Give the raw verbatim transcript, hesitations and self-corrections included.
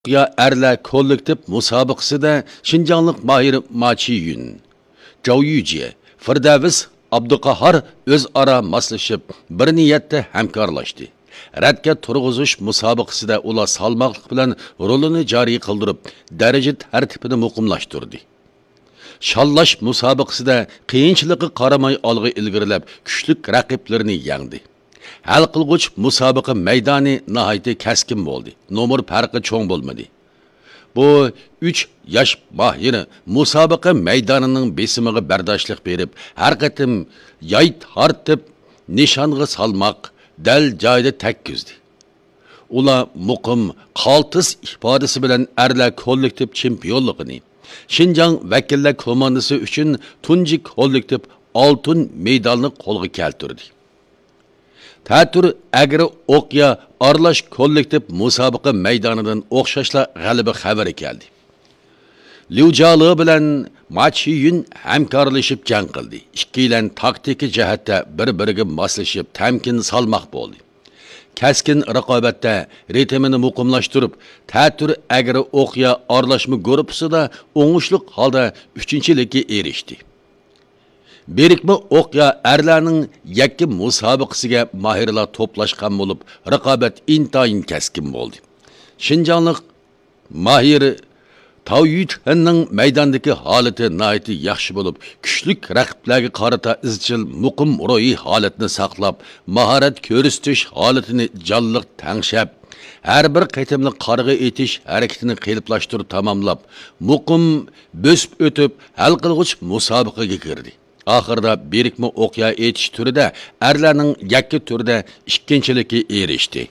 ئوقيا ئەرلەر كوللېكتىپ مۇسابىقىسىدە شىنجاڭلىق ماھىر ما چىيۈن، جاۋ يۈجيې، فىردەۋس ئابدۇقاھار ئۆزئارا ماسلىشىپ، بىر نىيەتتە ھەمكارلاشتى. رەتكە تۇرغۇزۇش مۇسابىقىسىدە ئۇلار سالماقلىق بىلەن رولىنى جارى قىلدۇرۇپ، دەرىجە تەرتىپىنى مۇقىملاشتۇردى. شاللاش مۇسابىقىسىدە قىيىنچىلىققا قارىماي ئالغا ئىلگىرىلەپ، كۈچلۈك رەقىبلىرىنى يەڭدى. ھەل قىلغۇچ مۇسابىقە مەيدانى ناھايىتى كەسكىن بولدى. نومۇر پەرقى چوڭ بولمىدى. بۇ ئۈچ ياش ماھىر مۇسابىقە مەيدانىنىڭ بېسىمىغا بەرداشلىق بېرىپ، ھەر قېتىم ياي تارتىپ، نىشانغا سالماق، دەل جايىدا تەگكۈزدى. ئۇلار مۇقىم، قالتىس ئىپادىسى بىلەن ئەرلەر كوللېكتىپ چېمپىيونلۇقىنى، شىنجاڭ ۋەكىللەر كوماندىسى ئۈچۈن تۇنجى كوللېكتىپ ئالتۇن مېدالنى قولغا كەلتۈردى. تەتۈر ئەگرى ئوقيا ئارىلاش كوللېكتىپ مۇسابىقە مەيدانىدىن ئوخشاشلا غەلىبە خەۋىرى كەلدى. ليۇ جالې بىلەن ما چىيۈن ھەمكارلىشىپ جەڭ قىلدى. ئىككىيلەن تاكتىكا جەھەتتە بىر-بىرىگە ماسلىشىپ، تەمكىن سالماق بولدى. كەسكىن رىقابەتتە رىتىمىنى مۇقىملاشتۇرۇپ، تەتۈر ئەگرى ئوقيا ئارىلاشما گۇرۇپپىسىدا ئوڭۇشلۇق ھالدا ئۈچىنچىلىككە ئېرىشتى. بىرىكمە ئوقيا ئەرلەرنىڭ يەككە مۇسابىقىسىگە ماھىرلار توپلاشقان بولۇپ، رىقابەت ئىنتايىن كەسكىن بولدى. شىنجاڭلىق ماھىر تاۋ يۈتخەننىڭ مەيداندىكى ھالىتى ناھايىتى ياخشى بولۇپ، كۈچلۈك رەقىبلەرگە قارىتا ئىزچىل مۇقىم روھىي ھالەتنى ساقلاپ، ماھارەت كۆرسىتىش ھالىتىنى جانلىق تەڭشەپ، ھەر بىر قېتىملىق قارىغا ئېتىش ھەرىكىتىنى قېلىپلاشتۇرۇپ تاماملاپ، مۇقىم بۆسۈپ ئۆتۈپ، ھەل قىلغۇچ مۇسابىقىگە كىردى. ئاخىرىدا بىرىكمە ئوقيا ئېتىش تۈرىدە ئەرلەرنىڭ يەككە تۈردە ئىككىنچىلىككە ئېرىشتى.